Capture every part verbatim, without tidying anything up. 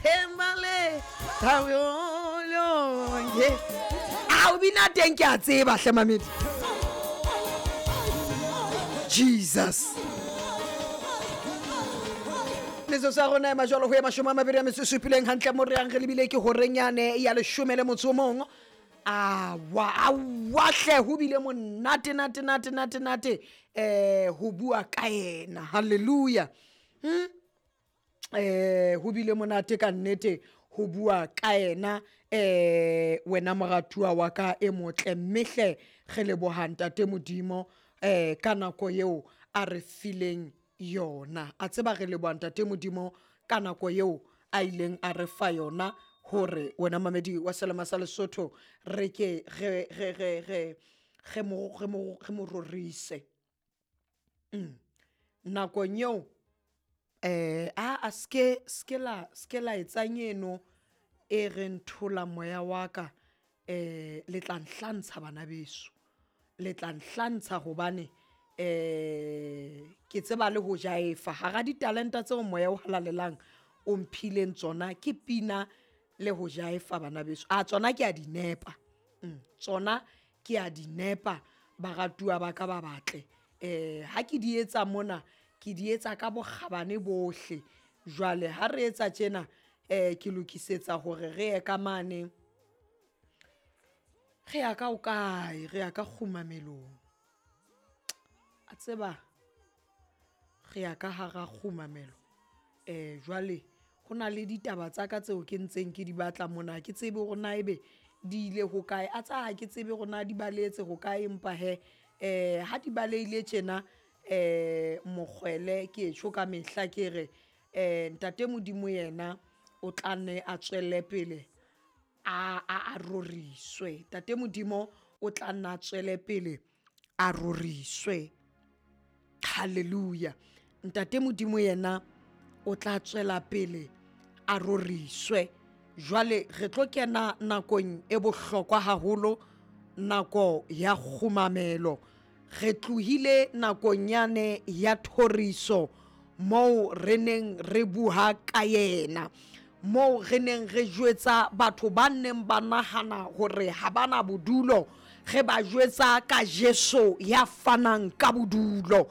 Thembale thabolonge. A o bina teng ke a tseba hle mamedi. Jesus. Metsotso ya rona e majwalo ho ya mashome a mabedi a metso e supileng hantle mo re yang re lebile ke horenyane ya leshome le motso o mong. Awa awa hle ho bile monate nate nate nate nate eh ho bua ka yena. Hallelujah. Hmm? Eh ho bile monate ka nnete ho bua ka yena eh wena moratuwa wa ka e motle mme hle re leboha ntate Modimo eh ka nako eo a re fileng yona. A tseba re leboha ntate Modimo ka nako eo a ileng a re fa yona hore wena mamedi wa Selema sa Lesotho re ke re re re re re mo re mo re mo rorise. Mm. Nakong eo eh a a ske ske la ske la etsang eno e re nthola moya wa ka eh le tla nhlantsha bana beso. Le tla nhlantsha hobane eh ke tseba le ho jaefa hara ditalenta tseo moya o halalelang o mphileng tsona ke pina le ho jaefa bana beso. A tsona ke a di nepa. Mm, tsona ke a di nepa baratuwa ba ka ba batle. Eh ha ke di etsa mona ke di etsa ka bokgabane bohle. Jwale ha re etsa tjena eh ke lokisetsa hore re ye ka mane. Re ya ka o kae? Re ya ka kgumamelong. A tseba re ya ka hara kgumamelo. Eh jwale ho na le ditaba tsa ka tseo ke ntseng ke di batla mona. Ha ke tsebe hore na ebe di ile ho kae. A tsa ha ke tsebe hore na di balehetse ho kae, empa he eh ha di balehile tjena eh mokgwele ke tjho ka mehla ke re eh ntate Modimo yena o tla nne a tswelle pele a a a roriswe. Ntate Modimo o tla nna a tswele pele a roriswe. Hallelujah. Ntate Modimo yena o tla tswela pele a roriswe. Jwale re tlo kena nakong e bohlokwa haholo, nako ya kgumamelo. Re tlohile nakong yane ya thoriso moo re neng re bua ka yena, moo re neng re jwetsa batho ba neng ba nahana hore ha bana bodulo, re ba jwetsa ka Jesu ya fanang ka bodulo.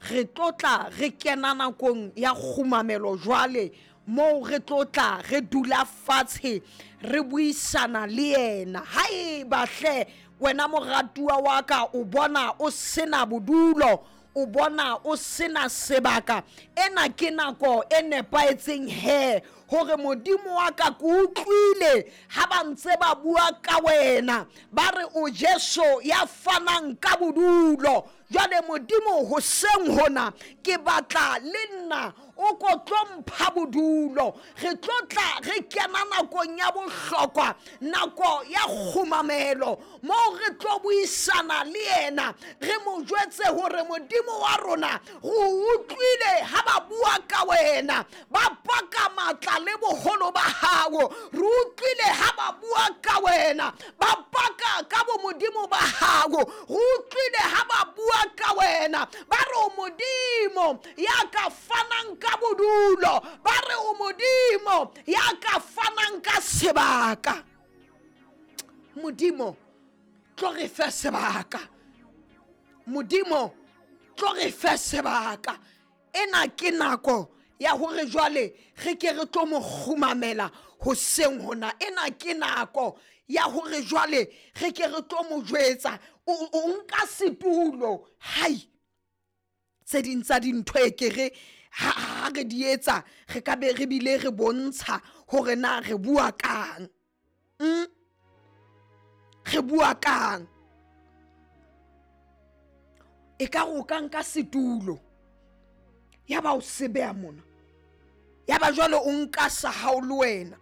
Re tlotla re kena nakong ya kgumamelo jwale moo re tlotla re dula fatshe re buisana le yena. Haeba hle wena moratuwa wa ka o bona o sena bodulo, o bona o sena sebaka, ena ke nako e nepahetseng he hore Modimo wa ka ke utlwile ha ba ntse ba bua ka wena, ba re o Jesu ya fanang ka bodulo. Jwale Modimo hoseng hona ke batla le nna o ko tlo mpha bodulo. Re tlo tla re kena nakong ya bohlokwa, nako ya kgumamelo moo re tlo buisana le yena, re mo jwetse hore Modimo wa rona re utlwile ha ba bua ka wena, ba paka matla le boholo ba hao. Re utlwile ha ba bua ka wena, ba paka ka bo Modimo ba hao. Re utlwile ha ba bua ka wena, ba re o Modimo ya ka fanang ka bodulo, ba re o Modimo ya ka fanang ka sebaka. Modimo tlo re fe sebaka. Modimo tlo re fe sebaka. Ena ke nako ya hore jwale re ke re tlo mo kgumamela hoseng hona. Ena ke nako ya hore jwale re ke re tlo mo jwetsa o o nka setulo. Hai, tse ding tsa dintho e ke re ha ha re di etsa re ka be re bile re bontsha hore na re bua kang. Mm? Re bua kang. E ka re o ka nka setulo ya ba o se beha mona, ya ba jwale o nka sa hao le wena.